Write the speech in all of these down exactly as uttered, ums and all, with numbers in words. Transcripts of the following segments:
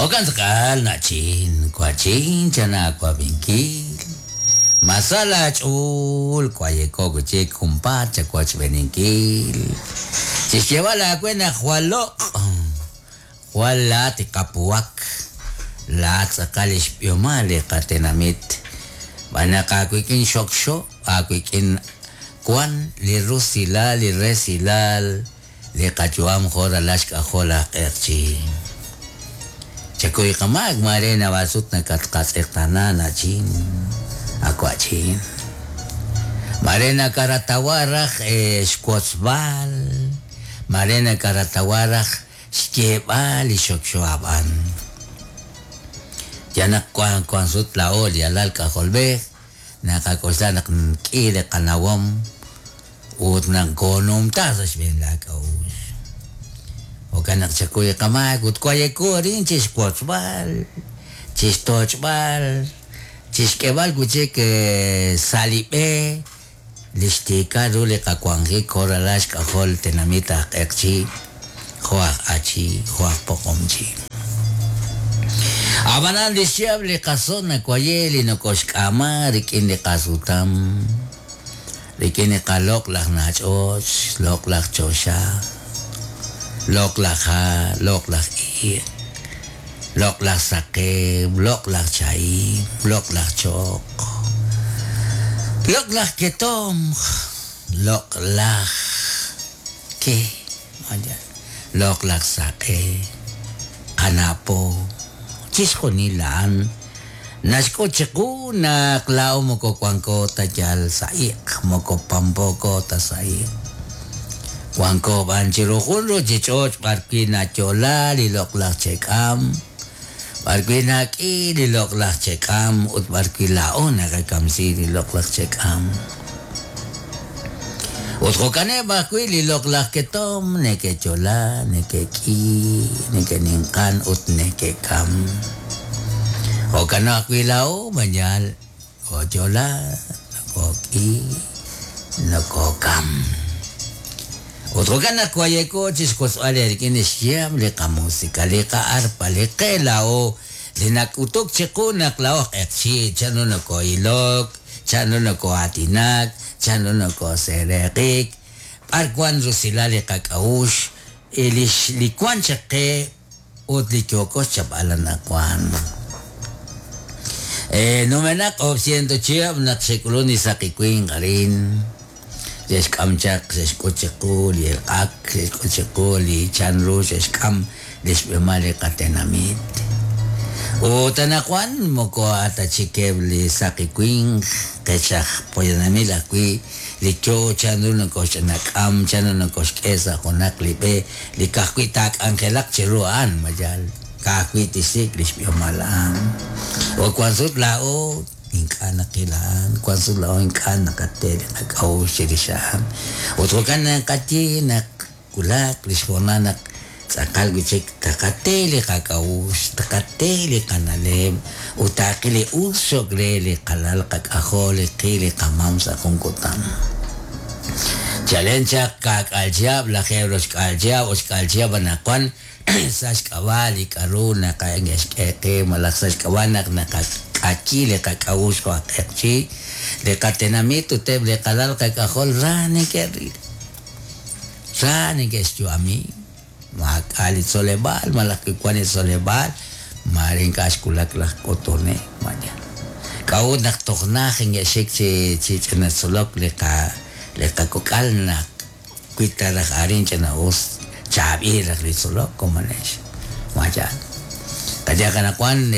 Jo'kan tz'aqal na'chin, wa'chin chanaawab'inkil. Masala ch'uul wayeko wichik junpaat chawochb'eninkil. Chixyeeb'al aawe naq jwal loq', jwal laat qapuwak, laat tz'aqal xb'ihomal li qatenamit. B'an naq aawik'in xokxo, aawik'in wan li rusilal, li resilal, li qayu'am jo' ralal xk'ajol aj q'eqchi. Chakuy qamaak mare naab'al sut nakatqatz'eqtaana na'chin, awa'chin. Mare nakaratawa raj xwotzb'al, mare nakaratawa raj xyeeb'al li xokxo ab'an. Ya naq wan wan sut laa'o li alal k'ajolb'ej, naqak'oxla naq k'i li qanawom ut naq koonumta sa' xb'een laak'a'uxl. Jo'kan naq chakuy qamaak ut wayeko arin chixwotzb'al, chixtoch'b'al, chixk'eeb'al wichik sa' li b'e li xtiikal ru li qawanjik jo' ralal xk'ajol tenamit aj q'eqchi, jo' aj achi, jo' aj poqomchi. Ab'anan li xchihab' li qason nawaye li nokoxk'ama rik'in li qasutam, rik'in li qaloq' laj nach'och, loq' laj choxa, loq' laj ha', loq' laj iq', loq' laj saqeb', loq' laj chahim, loq' laj choq, loq' laj ketomq, loq' laj ke, loq' laj saq'e, qanapo, chixjunil a'an naxk'ut chiqu naq laa'o moko wanko ta yal sa' iq', moko pampoko ta sa' iq'. Wanko b'an chiru jun ruchich'och' b'arwi' nayo'la li loq'laj che'k'am, b'arwi' nak'i li loq'laj che'k'am ut b'arwi' laa'o naqakamsi li loq'laj che'k'am. Ut jo'kaneb' ajwi' li loq'laj ketom neke'yo'la, neke'k'i, neke'ninqan ut neke'kam. Jo'kan ajwi' laa'o mañal koyo'la, nokok'i, nokokam. Ut jo'kan naq wayeko chixwotzb'al rik'in xyaab' li qamusika, li qa'arpa, li qe laa'o, li nak'utuk chiqu naq laa'o q'eqchi, chanru noko'ilok, chanru noko'aatinak, chanru nokosereqik, b'ar wan rusilal li qak'a'uxl, li li wan chaq qe ut li yooko xchapb'al anaqwan. Eh, numenaq oob' ciento chihab' naq xek'ulun li saqi winq arin. Xe'xk'am chaq, xe'xk'ut chiqu li elq'ak, xe'xk'ut chiqu li chanru, xe'xk'am li xb'emal li qatenamit. Ut anaqwan moko atachikeb' li saqi winq, qech aj poyanamil ajwi' li yo chanru nokoxch'anak'am, chanru nokoxk'e sa' junaq li b'e, li ka'ajwi' taak'anjelaq chiru a'an, mayal ka'ajwi' tixsik' li xb'ihomal a'an. Ut wan sut laa'o ink'a' naqil a'an, wan sut laa'o ink'a' naqate li qak'a'uxl chirix a'an. Ut jo'kan naqaye naq wulak li xhoonal naq tz'aqal wichik taqate li qak'a'uxl, taqate li qana'leb' ut taaqil li us xok re li qalal qak'ajol, li qi li qamam sa' jun kutan. Chalen chaq ka'k'al chihab', lajeeb' roxk'al chihab', oxk'al chihab' anaqwan sa' xk'ab'a' li k'aru naqak'e qe malaj sa' xk'ab'a' naq naqak'ayi li qak'a'uxl jo' aj q'eqchi, li qatenamit ut eb' li qalal qak'ajol ra neke'ril, ra neke'xyu'ami. Maak'a' li tzoleb'aal, malaj wan li tzoleb'aal, mare ink'a' xwulak laj k'utunel, mañana. K'a'ut naq toj naj inke'xik chi chi ch'ina tzolok li qa li qakok'al naq kuita raj arin ch'ina us chaab'il raj li tzolok komonex. Mañana. Qayeq anaqwan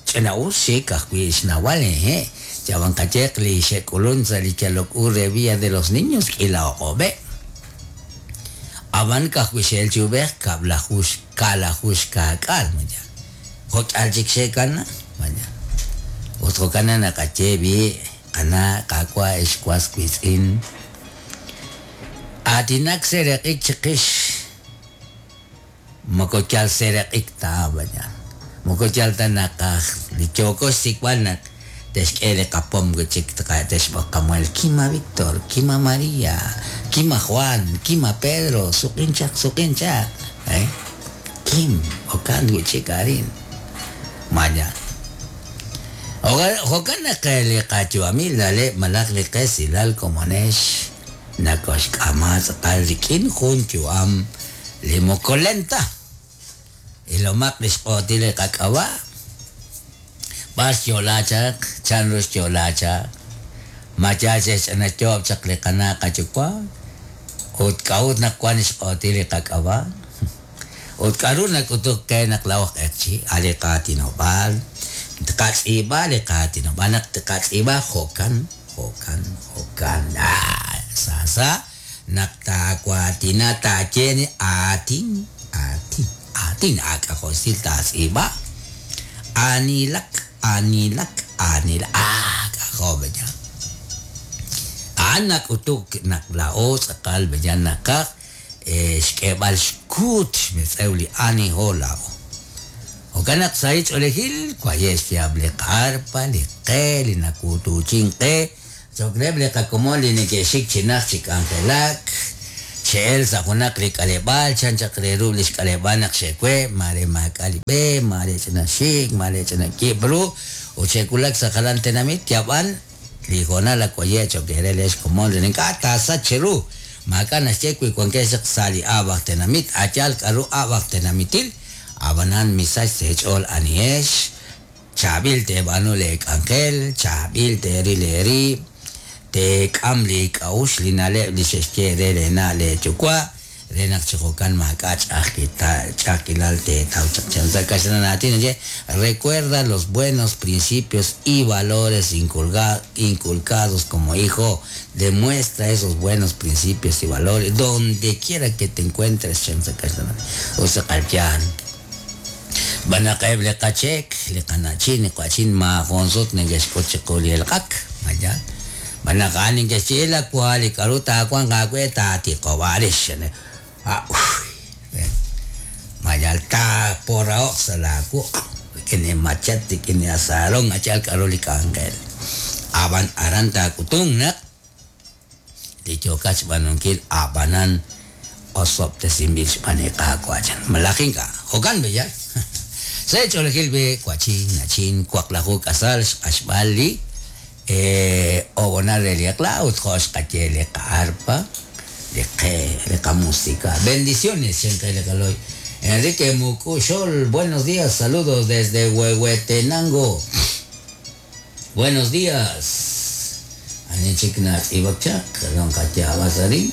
ch'ina us xik ajwi' xnawal eje. Yawan qayeq li xe'k'ulun sa' li yalok u re Villa de los Niños k'ila oq'ob'e. Ab'an ka'ajwi' xe'el chi ub'ej kab'lajux ka'lajux ka'k'aal mañana. Jo'k'al chik xe'kana mañana. Ut jo'kan naqaye b'i' qana' qaawa' ex was wiitz'in. Aatinak sereq'ik chiqix. Moko yal sereq'ik ta mañana. Moko yal ta naqaj li yooko xsik'b'al naq texk'e li qapom wichik texb'oq qamuel Kima Víctor, Kima María, Kima Juan, Kima Pedro, suq'in chaq, suq'in chaq. Eh? Kim, okan wichik arin. Mañana. Jo'kan naq li qayu'amil na'leb' malaj li qesilal komonex nakoxk'ama tz'aqal rik'in jun yu'am li moko lenta. Ilomaq li xq'o'til li qak'ab'a' b'ar xyo'la chaq, chanru xyo'la chaq, ma yaal xe'xch'anayoob' chaq li qana' qayuwa' ut k'a'ut naq wan xq'o'til li qak'ab'a' ut k'a'ru nak'utuk qe naq laa'o q'eqchi' a' li qaatinob'aal tqatz'iib'a li qaatinob'aal naq tqatz'iib'a jo'kan jo'kan jo'kan ah sa sa naq taawaatina taaye aatin aatin aatin ak'ajolsil taatz'iib'a aanilak aanilak aanilak ah k'ajo' beya a'an nak'utuk naq laa'o tz'aqal beya naqaj xk'eeb'al xkuut xmetz'ew li aniho laa'o. Jo'kan naq sa' ch'oolejil waye' xyaab' li qarpa li qe li nakuutuchin qe cho'q reheb' li qakomon li neke'xik chi najt chi k'anjelak xe'el sa' junaq li k'aleb'aal chan chaq re ru li xk'aleb'aal naq xe'we mare maak'a' li b'e mare ch'ina xik mare ch'ina kiib' ru ut xe'wulak sa' jalan tenamit yab'an li hoonal ak waye' cho'q eere leex komon re ink'a' taasach cheru maak'a' naxye wi wankex chaq sa' li ab'aj tenamit ayaal k'a'ru ab'aj tenamitil ab'anan misach sa' eech'ool anihex chaab'il teeb'aanu leek'anjel chaab'il teeril eerib' teek'am li k'a'uxl li na'leb' li xe'xye re leena' leeyuwa' re naq chi jo'kan maak'a' ch'a'ajkilal teetaw chaq chan sa' kaxlan aatin naxye recuerda los buenos principios y valores inculcados como hijo demuestra esos buenos principios y valores donde quiera que te encuentres chan sa kaxlan usaqalyan banaqeb' li qachek li qana'chin li qachin maajunsut neke'xk'ut chiqu li elq'ak mayan banaq a'an neke'xye la wa li k'a'ru taawanq aawe taatiqob'arix ah mayal taapora'oq sa' laawuq' rik'in li machet rik'in li asaron achal k'a'ru li k'anjel ab'an aran taak'utung naq li yookat xb'aanunkil ab'anan osob'tesinb'il xb'aan li Qaawa' chan malaj ink'a' jo'kan b'eyal sa' ch'oolejil b'e wachin nachin waqlaju k'asal xq'axb'al li obonal re li eq'la ut jo' xqaye li qa'arpa li qe li qamusika bendiciones xenqe li qaloy Enrique Mucuxol buenos días saludos desde Huehuetenango buenos días ani chik natz'ib'ak chaq ron qatyab'asarin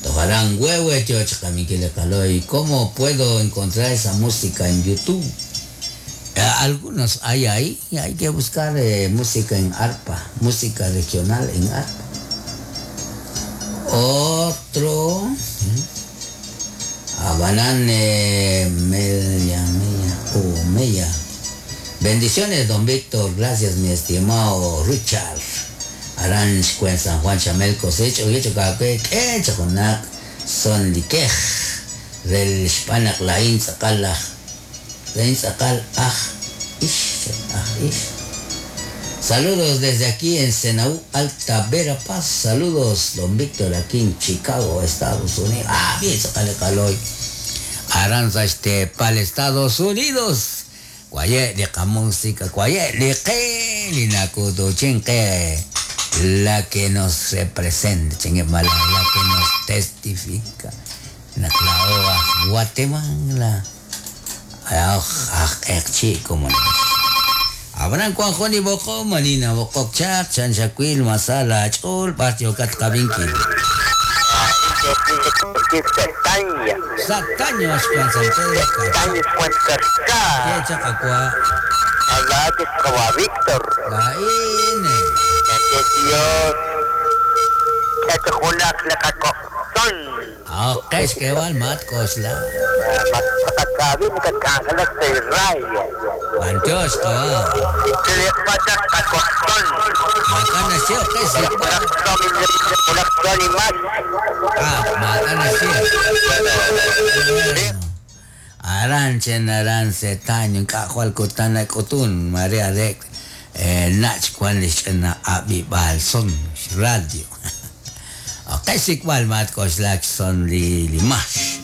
tojarán huehue choch qaloy ¿cómo puedo encontrar esa música en YouTube? Eh, algunos hay ahí, hay que buscar eh, música en arpa, música regional en arpa. Otro, Abanán eh, media, media, oh, media. Bendiciones, don Víctor, gracias, mi estimado Richard. Aranch Cuen San Juan Chamel cosecho, yecho kakwe, que choconac, son liquej, del xpanak lain tz'aqal aj lain tz'aqal aj ix, aj ix. Saludos desde aquí en Senaú, Alta Verapaz. Saludos, don Víctor, aquí en Chicago, Estados Unidos. Ah, bien, tz'aqal kaloy. Aranza este pal Estados Unidos. Cuaye li música, cuaye li que li nakutuchin que la que nos representa, chingue mala, la que nos testifica. Naq laa'o Guatemala. Aj q'eqchi como Ab'anan wan jun li b'oqom manina b'oqok chaq chan xakwil masala ch'ol b'ar yokat qabinkil. Sataña. Sataño axkan San Pedro Sataña Fuencarcá. Ke chaq akwa Allah kawa Víctor. Laine. Que Dios. Que junak lakakoson. Ah, qex kewal mat kosla. Matakabi makakangalak sa rayo. Manchos kawa. Tilipata kakoson. Makana siya qex Ulak ulak mas. Ah, makana siya. Aranchen arance taño k'ajwal kutana k'utun María de eh, nach kwan lixch'ana abi balson radio. Okay, sikwal mat koslak son li li mash.